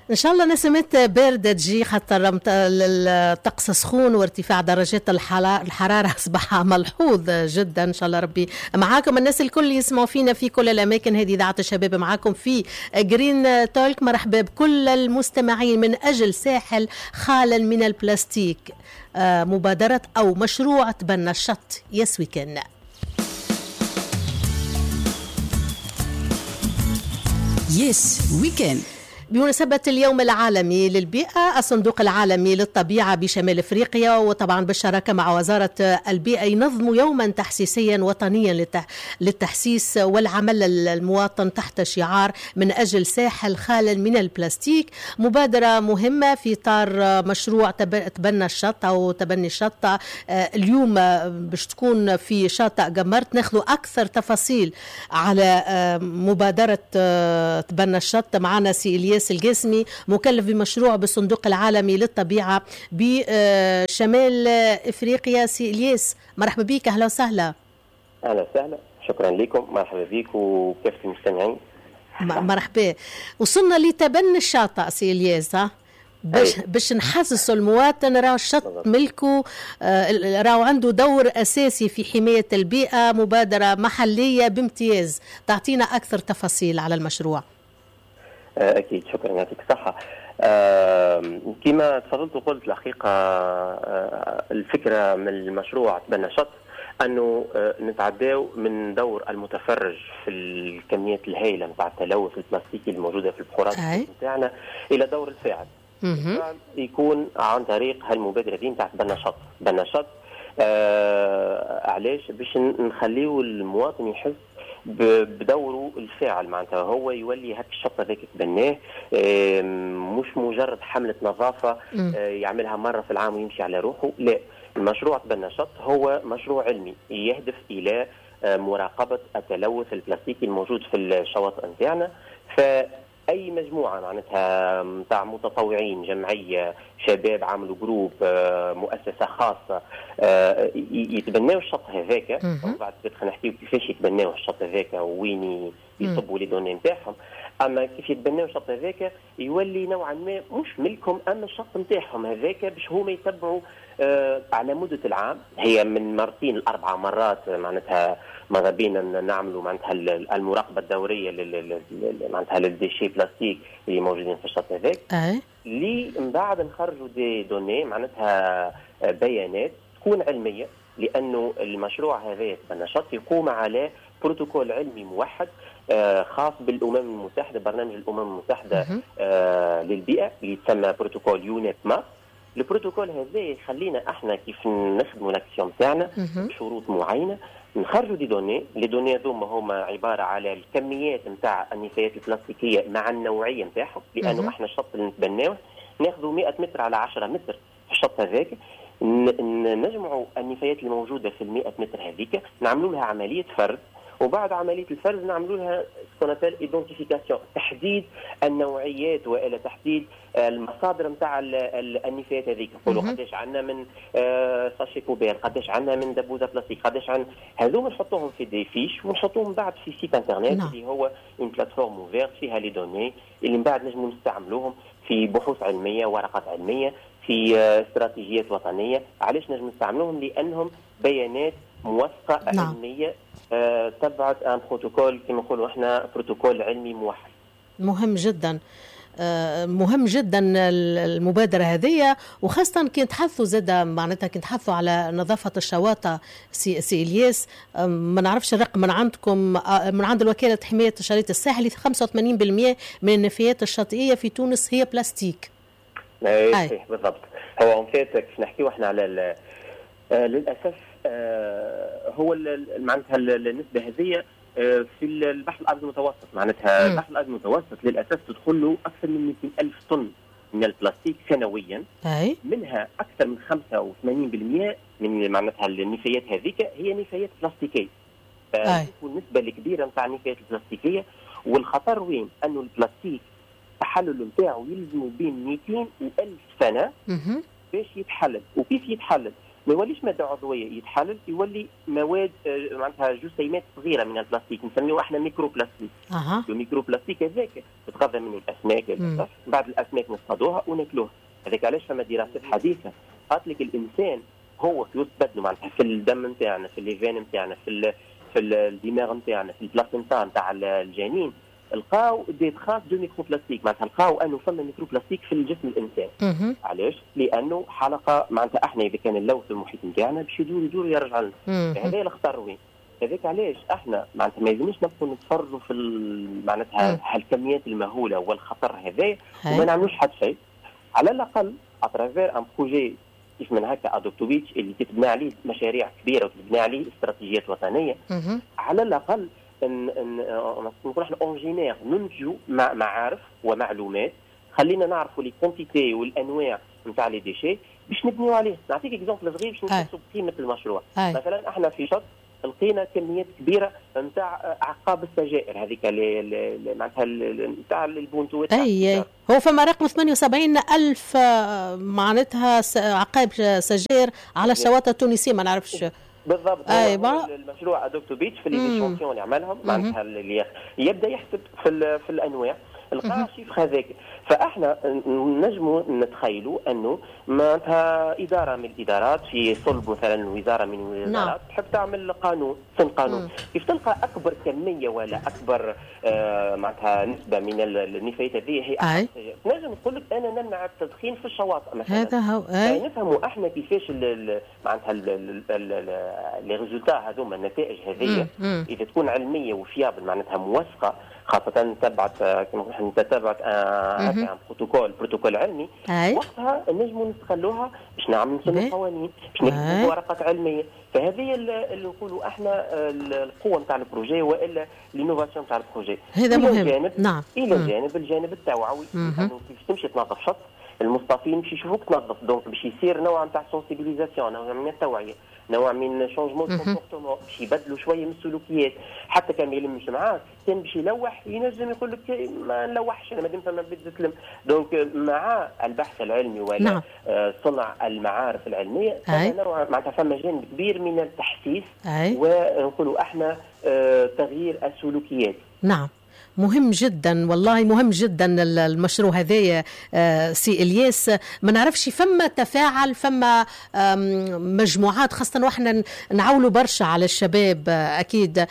ان شاء الله نسمات باردة تجي، خاطر الطقس سخون وارتفاع درجات الحرارة اصبح ملحوظ جدا. ان شاء الله ربي معاكم. الناس الكل يسمعوا فينا في كل الاماكن، هذه اذاعة الشباب معاكم في Green Talk. مرحبا بكل المستمعين من اجل ساحل خال من البلاستيك، مبادرة او مشروع تبنى الشط. Yes we can. Yes we can. بمناسبة اليوم العالمي للبيئة، الصندوق العالمي للطبيعة بشمال افريقيا وطبعا بالشراكة مع وزارة البيئة ينظم يوما تحسيسيا وطنيا للتحسيس والعمل المواطن تحت شعار من أجل ساحل خال من البلاستيك. مبادرة مهمة في إطار مشروع تبنى الشط أو تبني الشط. اليوم باش تكون في شاطئ قمرت، ناخذ أكثر تفاصيل على مبادرة تبنى الشط. معنا سي إلياس القاسمي، مكلف بمشروع بالصندوق العالمي للطبيعة بشمال افريقيا. سي إلياس مرحبا بك، اهلا وسهلا. اهلا وسهلا، شكرا لكم، مرحبا بك وكافة المستمعين. مرحبا. وصلنا لتبني الشاطئ سي إلياس، ها باش نحسسوا المواطن راهو الشط ملكه، راهو عنده دور اساسي في حماية البيئة. مبادرة محلية بامتياز، تعطينا اكثر تفاصيل على المشروع. أكيد، شكرا، يعطيك الصحة. كما تفضلت وقلت الحقيقة، الفكرة من المشروع تبنى شط أنه نتعداو من دور المتفرج في الكميات الهائلة نتاع التلوث البلاستيكي الموجودة في البحورات نتاعنا إلى دور الفاعل. يكون عن طريق هالمبادرة دي نتاع تبنى شط. تبنى شط علاش؟ باش نخليو المواطن يحس بدوره الفاعل، معناتها هو يولي هاك الشط هذاك تبناه، مش مجرد حملة نظافة يعملها مرة في العام ويمشي على روحه. لا، المشروع تبنى شط هو مشروع علمي يهدف إلى مراقبة التلوث البلاستيكي الموجود في الشواطئ نتاعنا. فأي مجموعة معناتها نتاع متطوعين، جمعية، شباب عملوا groupe، مؤسسة خاصة، يتبناو الشط هذاك. وبعد خلينا نحكيو كيفاش يتبناو الشط هذاك وين يصبوا les données نتاعهم. اما كيف يتبناو الشط هذاك يولي نوعا ما مش ملكهم، اما الشط نتاعهم هذاك باش هما يتبعوا على مدة العام، هي من مرتين لأربع مرات معناتها ماذا بينا نعملوا معناتها المراقبة الدورية معناتها لل déchets plastiques اللي موجودين في الشط هذاك، اللي من بعد نخرجوا des données معناتها بيانات تكون علمية، لأنه المشروع هذا تبنى شط يقوم على بروتوكول علمي موحد خاص بالأمم المتحدة، برنامج الأمم المتحدة للبيئة اللي يتسمى بروتوكول UNEP MAP. البروتوكول هذا يخلينا احنا كيف نخدموا l'action تاعنا بشروط معينة، نخرجوا des données. les données هذوما هما عبارة على الكميات نتاع النفايات البلاستيكية مع النوعية نتاعهم، لانه احنا الشط اللي نتبناوه ناخذوا 100 متر على 10 متر في الشط هذاك، نجمعوا النفايات الموجودة في ال 100 متر هذيك، نعملوا لها عملية فرز، وبعد عملية الفرز نعملوا لها ce qu'on appelle identification، تحديد النوعيات والى تحديد المصادر نتاع النفايات هذيك. نقولوا قداش عندنا من sachet poubelle، قداش عندنا من دبوزه بلاستيك، قداش عندنا هذوما، نحطوهم في des fiches ونحطوهم بعد في site internet اللي هو une plateforme ouverte فيها les données اللي من بعد نجموا نستعملوهم في بحوث علمية، ورقات علمية، في استراتيجيات وطنية. علاش نجم نستعملوهم؟ لانهم بيانات موثقة علمية تبعت un protocole، كما نقولوا احنا بروتوكول علمي موحد. مهم جدا، مهم جدا المبادرة هذه، وخاصة كي نتحدثوا زاد معناتها كي نتحدثوا على نظافة الشواطئ. سي إلياس، ما نعرفش الرقم من عندكم، من عند الوكالة حماية الشريط الساحلي، 85% من النفايات الشاطئية في تونس هي بلاستيك. صحيح بالضبط. هو en fait كيف نحكيو احنا على للاسف هو معناتها النسبة هذه في البحر الابيض المتوسط، معناتها البحر الابيض المتوسط للاسف تدخل له اكثر من 200 الف طن من البلاستيك سنويا. منها اكثر من 85% من معناتها النفايات هذيك هي نفايات بلاستيكيه. النسبة الكبيرة نتاع النفايات البلاستيكية، والخطر وين؟ انه البلاستيك التحلل نتاعو يلزموا بين 200 و 1000 سنة باش يتحلل. وكيف يتحلل؟ ما يوليش مادة عضوية، يتحلل يولي مواد معناتها جسيمات صغيرة من البلاستيك نسميوه احنا microplastique. ال microplastique هذاك تتغذى منه الاسماك، بعد الاسماك نصطادوها وناكلوها. هذاك علاش فما دراسات حديثه قالت لك الانسان هو في وسط بدنه، معناتها في الدم نتاعنا، في les veines نتاعنا، في الدماغ نتاعنا، في ال placenta نتاع الجنين، لقاو des traces de microplastique، معناتها لقاو انه فما microplastique في الجسم الانسان. علاش؟ لانه حلقة، معناتها احنا اذا كان نلوث المحيط نتاعنا باش يدور يدور ويرجع لنا. هذا الخطر وين؟ هذاك علاش احنا معناتها ما يلزمناش نبقوا نتفرجوا في معناتها هالكميات المهوله والخطر هذا وما نعملوش حتى شيء. على الاقل à travers un projet كيف من هكا Adopt a Beach اللي تتبنى عليه مشاريع كبيرة وتتبنى عليه استراتيجيات وطنيه، على الاقل ان نقول احنا on génère، ننتجوا معارف ومعلومات، خلينا نعرفوا les quantités والانواع نتاع les déchets باش نبنيو عليه. نعطيك exemple صغير باش نحسوا بقيمة المشروع. مثلا احنا في شط لقينا كميات كبيرة نتاع اعقاب السجائر هذيك معناتها نتاع البونتوات. اي هو فما رقم 78 الف معناتها عقاب سجائر على الشواطئ التونسيه، ما نعرفش. بالضبط. أي المشروع Adopt a Beach في les échantillons اللي عملهم، معناتها اللي يبدا يحسب في الانواع، لقى chiffre هذاك. فاحنا نجموا نتخيلوا انه معناتها ادارة من الادارات في صلب مثلا وزارة من الوزارات تحب تعمل قانون، سن قانون، كيف تلقى اكبر كمية ولا اكبر معناتها نسبه من النفايات هذه هي، تنجم تقول لك انا نمنع التدخين في الشواطئ مثلا. هذا هو. يعني نفهموا احنا كيفاش معناتها les résultats هذوما، النتائج هذه اذا تكون علمية و fiable، معناتها موثقه، خاصة تبعت كما نحن تتبعت un protocole علمي، وقتها نجموا نستغلوها باش نعملوا نسنوا قوانين، باش نكتبوا ورقات علمية. فهذه اللي نقولوا احنا القوة نتاع ال projet والا l'innovation نتاع ال projet. هذا مهم. جانب الى جانب الجانب التوعوي، انه كيف تمشي تنظف شط، المصطافين باش يشوفوك تنظف، donc باش يصير نوع نتاع sensibilisation، نوع من التوعيه، نوع من changement comportement، باش يبدلوا شوية من السلوكيات. حتى كان ما يلمش معاك، كان باش يلوح ينجم يقول لك ما نلوحش انا مادام فما بيت تلم. donc مع البحث العلمي ولا صنع المعارف العلميه، نوع معناتها فما جانب كبير من التحسيس ونقولوا احنا تغيير السلوكيات. نعم، مهم جدا، والله مهم جدا المشروع هذايا. سي الياس، ما نعرفش فما تفاعل، فما مجموعات، خاصة واحنا نعولوا برشا على الشباب اكيد،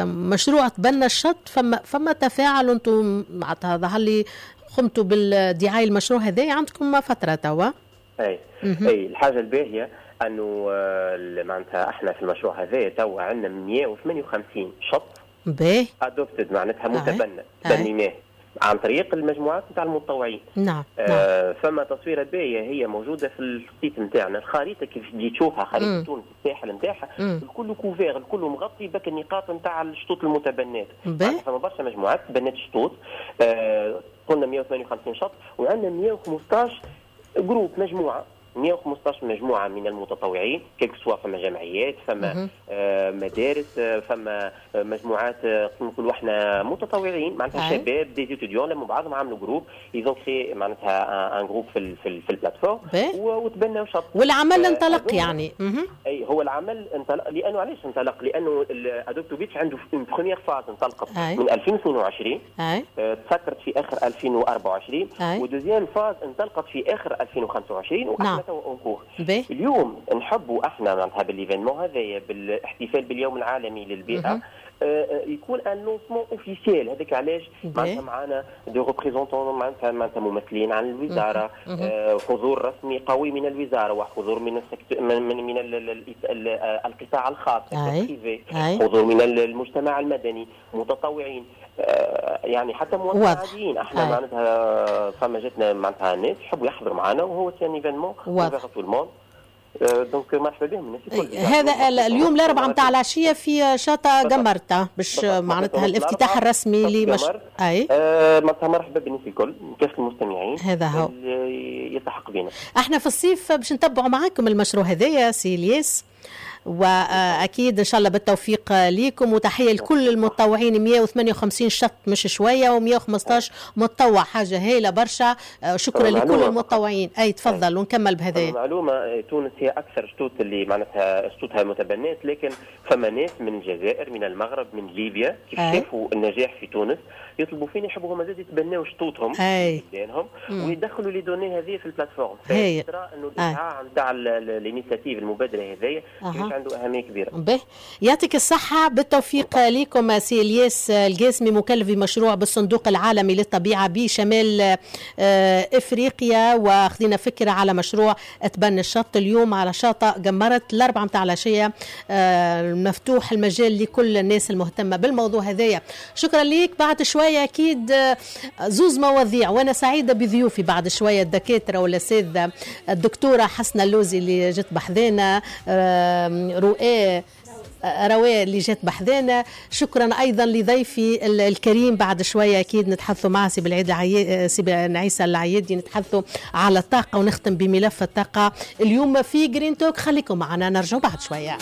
مشروع تبنى الشط، فما تفاعل؟ انتم معناتها ظهر لي قمتوا بالدعايه المشروع هذا عندكم فترة توا. اي، الحاجة الباهيه انه معناتها احنا في المشروع هذا توا عندنا 158 شط adopted، معناتها متبنى، تبنيناه عن طريق المجموعات نتاع المتطوعين. نعم. فما تصويره باهيه هي موجودة في ال site نتاعنا، الخريطة كيف تجي تشوفها، خريطة تونس، الساحل نتاعها الكل couvert، الكل مغطي بك النقاط نتاع الشطوط المتبنات. فما برشا مجموعات تبنات شطوط. قلنا 158 شط وعندنا 115 groupe، مجموعه، 115 مجموعة من المتطوعين، quel que soit فما جمعيات، فما مدارس، فما مجموعات نقولوا احنا متطوعين، معناتها شباب des étudiants لموا بعضهم عملوا groupe، ils ont créé معناتها un groupe في ال plateforme وتبنوا شط. والعمل انطلق يعني. اي، هو العمل انطلق. لانه علاش انطلق؟ لانه Adopt a Beach عنده une première phase انطلقت من 2022، تسكرت في اخر 2024، و deuxième phase انطلقت في اخر 2025، واحنا توا en cours. اليوم نحبوا احنا معناتها بال événement هذايا، بالاحتفال باليوم العالمي للبيئه، يكون un lancement officiel. هذاك علاش معناتها معنا des représentants، معناتها ممثلين عن الوزاره، حضور رسمي قوي من الوزارة وحضور من ال secteur من القطاع الخاص، privé، حضور من المجتمع المدني، متطوعين، يعني حتى مواطنين عاديين. احنا معناتها فما جاتنا معناتها ناس يحبوا يحضروا معنا، وهو c'est un événement ouvert à tout le monde، donc مرحبا بهم الناس الكل. هذا اليوم الاربعاء نتاع العشية في شاطئ قمرتة باش معناتها الافتتاح الرسمي لمش اي معناتها مرحبا بالناس الكل، كافة المستمعين. هذا هو. يلتحق بنا. احنا في الصيف باش نتبعوا معاكم المشروع هذايا سي الياس. واكيد ان شاء الله بالتوفيق ليكم، وتحية لكل المتطوعين. 158 شط مش شويه، و115 متطوع، حاجة هايلة برشا. شكرا لكل المتطوعين. اي تفضل ونكمل بهذا. معلومه، تونس هي اكثر شطوط اللي معناتها شطوطها متبنات، لكن فما ناس من الجزائر، من المغرب، من ليبيا، كيف شافوا النجاح في تونس يطلبوا فينا، يحبوا هما زاد يتبناو شطوطهم بلدانهم ويدخلوا les données هذه في ال plateforme. ترى انه الاشعاع نتاع l'initiative، المبادرة هذيا، كيفاش عنده اهمية كبيره. به، يعطيك الصحه، بالتوفيق لكم. سي الياس القاسمي، مكلف بمشروع بالصندوق العالمي للطبيعة بشمال افريقيا، واخذنا فكرة على مشروع تبني الشط اليوم على شاطئ قمرت 4 متاع العشيه، مفتوح المجال لكل الناس المهتمة بالموضوع هذايا. شكرا ليك. بعد شوية اكيد زوز مواضيع، وانا سعيدة بضيوفي بعد شويه، الدكاترة والاساتذه، الدكتورة حسنه اللوزي اللي جت بحذانا، رؤى رواء اللي جات بحذانا. شكرا ايضا لضيفي الكريم. بعد شوية اكيد نتحدثوا مع سي بالعيد سي بن عيسى العيادي، نتحدثوا على الطاقة ونختم بملف الطاقة اليوم في Green Talk. خليكم معنا، نرجع بعد شويه.